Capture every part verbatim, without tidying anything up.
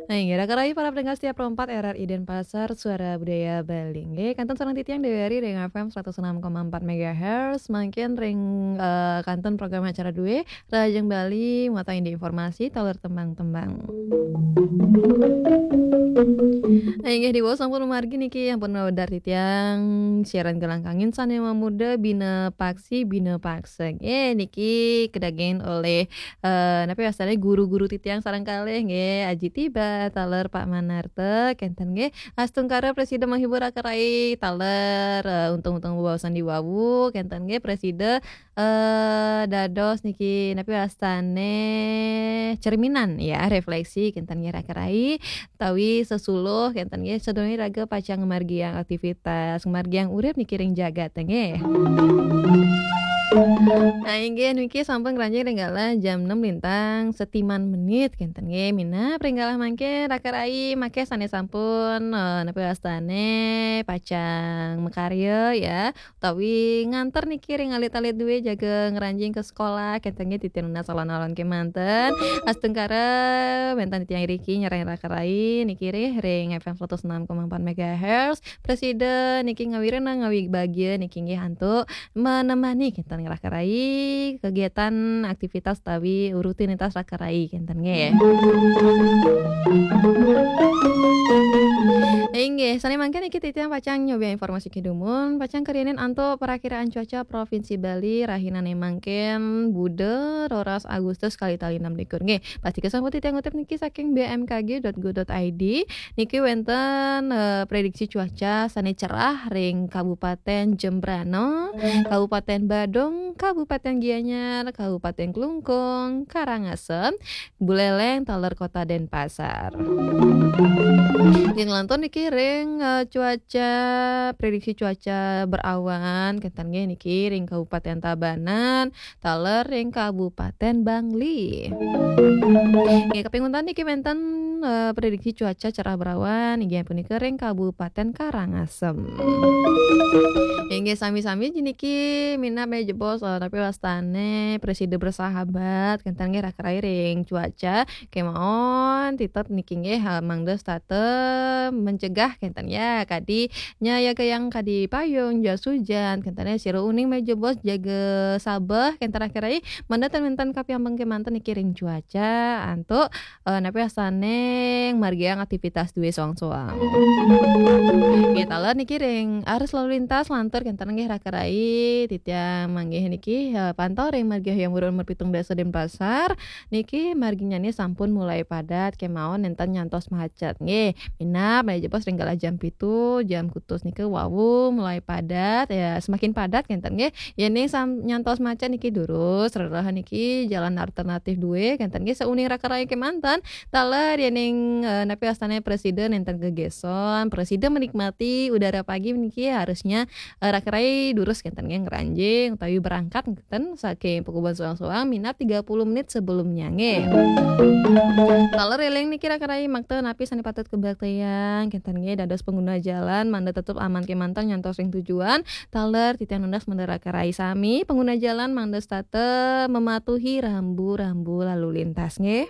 Nah, inggih, rakan rayi para pendengar setia Pro empat R R I Denpasar, Suara Budaya Bali. Inggih, kantun sareng titiang Dewi Ari ring F M seratus enam koma empat megahertz, mangkin ring, eh, kantun program acara due, Rahajeng Bali, muatan indik informasi, taler tembang-tembang. Nah, inggih, diwau sampun mamargi niki, ampun mawedar titiang, siaran Gelangkangin sane mamuda, bina paksi, bina paksa. Nggih, niki kedagingin olih eh, napi wastane guru-guru titiang sareng kalih nggih, Aji Tiba, taler Pak Manarta, kenten nggih, astungkara presida menghibur rakan rayi, taler, eh, untung-untung bebaosan diwawu, kenten nggih, presida, eh, dados niki napi wastane cerminan ya, refleksi, kenten nggih rakan rayi, tawi sesuluh, kenten nggih, sadurunge raga pacang ngamargiang aktivitas, ngamargiang urip niki ring jagat nggih. Nah, inggih niki sampun ngranjing ring galah jam enam lintang setiman menit, kenten nggih, minab ring galah mangkin rakan rayi, mangkin sane sampun, eh, napi wastane pacang makarya ya, utawi nganter niki ring alit-alit due jaga ngranjing ke sekolah, kenten nggih, titiang nunas alon-alon kemanten. Astungkara wenten titiang iriki nyarengin rakan rayi niki ring, ring F M seratus enam koma empat megahertz. Presida niki ngawirena ngawi bagia niki nggih antuk menemani kenten rakan rayi kegiatan aktivitas utawi rutinitas rakan rayi kenten nggih. Inggih, sane mangkin niki titiang pacang nyobiahang informasi kedumun, pacang kariinin antuk perakiraan cuaca Provinsi Bali rahinane mangkin Buda roras Agustus kalih tali enam likur. Nggih, pastika sampun titiang ngutip niki saking B M K G dot go dot I D. Niki wenten, eh, prediksi cuaca sane cerah ring Kabupaten Jembrana, Kabupaten Badung, Kabupaten Gianyar, Kabupaten Klungkung, Karangasem, Buleleng, taler Kota Denpasar. Nggih, nglantur niki ring, eh, cuaca, prediksi cuaca berawan, kenten nggih niki ring Kabupaten Tabanan, taler ring Kabupaten Bangli. Nggih, kaping untat niki wenten, eh, prediksi cuaca cerah berawan, inggih punika ring Kabupaten Karangasem. Inggih sami-sami niki minab menawi jebos, eh, napi wastane presida bersahabat, kenten nggih rakan rayi ring cuaca, kemawon tetep niki nggih, eh, mangda setata mencegah kenten ya, kadi nyayagayang kadi payung, jas hujan, kenten ya, sira uning menawi jebos jaga sabeh, kenten rakan rayi, mangda ten wenten kapiambeng kemanten niki ring cuaca, antuk, eh, napi wastane margiang aktivitas due soang-soang. Nggih, taler niki ring arus lalu lintas lantur kenten nggih rakan rayi, titiang manggih niki, eh, pantau ring margi Hayam Wuruk nomor pitung dasa Denpasar, niki marginyane sampun mulai padat, kemawon nenten nyantos macet. Nggih, minab menawi jebos ring galah jam pitu, jam kutus nika wau mulai padat, ya, semakin padat kenten nggih. Yening sam-, nyantos macet niki durus, rereh niki jalan alternatif due, kenten nggih, sauning rakan rayi kemanten, taler yening, eh, napi wastane presida nenten gegeson, presida menikmati udara pagi niki harusnya, eh, rakan rayi durus kenten nggih ngranjing utawi berangkat kenten saking pakubuhan soang-soang minab tiga puluh menit sebelumnya nggih. Taler eling niki rakan rayi makta napi sane patut kabaktayang kenten nggih, dados pengguna jalan mangda tetep aman kemanten nyantos ring tujuan. Taler titiang nunas mangda rakan rayi sami pengguna jalan mangda setata mematuhi rambu-rambu lalu lintas nggih.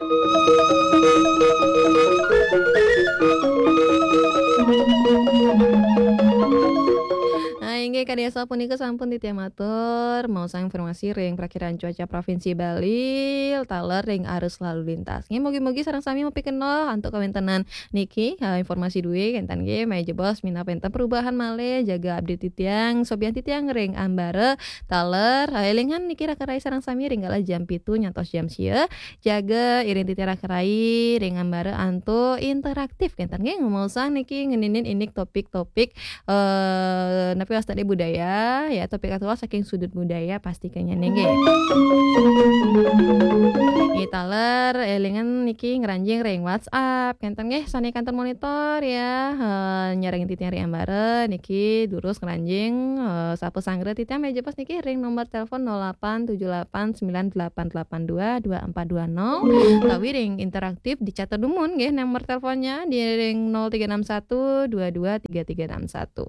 Nah, inggih kadi asapunika sampun titiang matur, maosang informasi ring prakiraan cuaca Provinsi Bali, taler ring arus lalu lintas. Nggih, mugi-mugi sareng sami mapikenoh antuk kawentenan niki, eh, informasi due kenten nggih, menawi jebos minab wenten perubahan malih, jaga update titiang, sobiahang titiang ring ambara taler, eh, elingan niki rakan rayi sareng sami ring galah jam pitu nyantos jam sia, jaga iring titiang rakan rayi ring ambara antuk interaktif kenten nggih, ngemaosang niki ngeninin indik topik-topik, eh, napi wastane budaya, ya, topik aktual saking sudut budaya pastikanya nggih. Nggih, taler elingan niki ngranjing ring WhatsApp, kenten nggih, sane kantun monitor ya, eh, nyarengin titiang ring ambara niki durus ngranjing, eh, sapa sanggra titiang menawi jebos niki ring nomor telepon nol delapan tujuh delapan sembilan delapan delapan dua dua empat dua nol, utawi ring interaktif dicatet dumun nggih nomor teleponnya di ring nol tiga enam satu dua dua tiga tiga enam satu.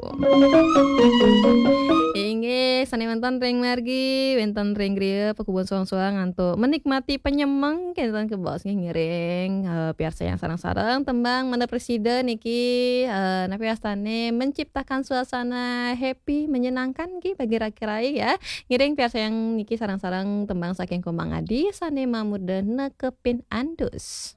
Inggih, sané wénten ring margi, wénten ring griya, pakubun suang-suang antuk menikmati penyemeng, kénten kebaos nggih ngiring, eh, piarsayang sareng-sareng tembang Mana Presida niki, eh, napi wastané menciptakan suasana happy, menyenangkan nggih bagi raki-raki ya. Ngiring piarsayang niki sareng-sareng tembang saking Komang Adi sané mamurda Nekepin Andus.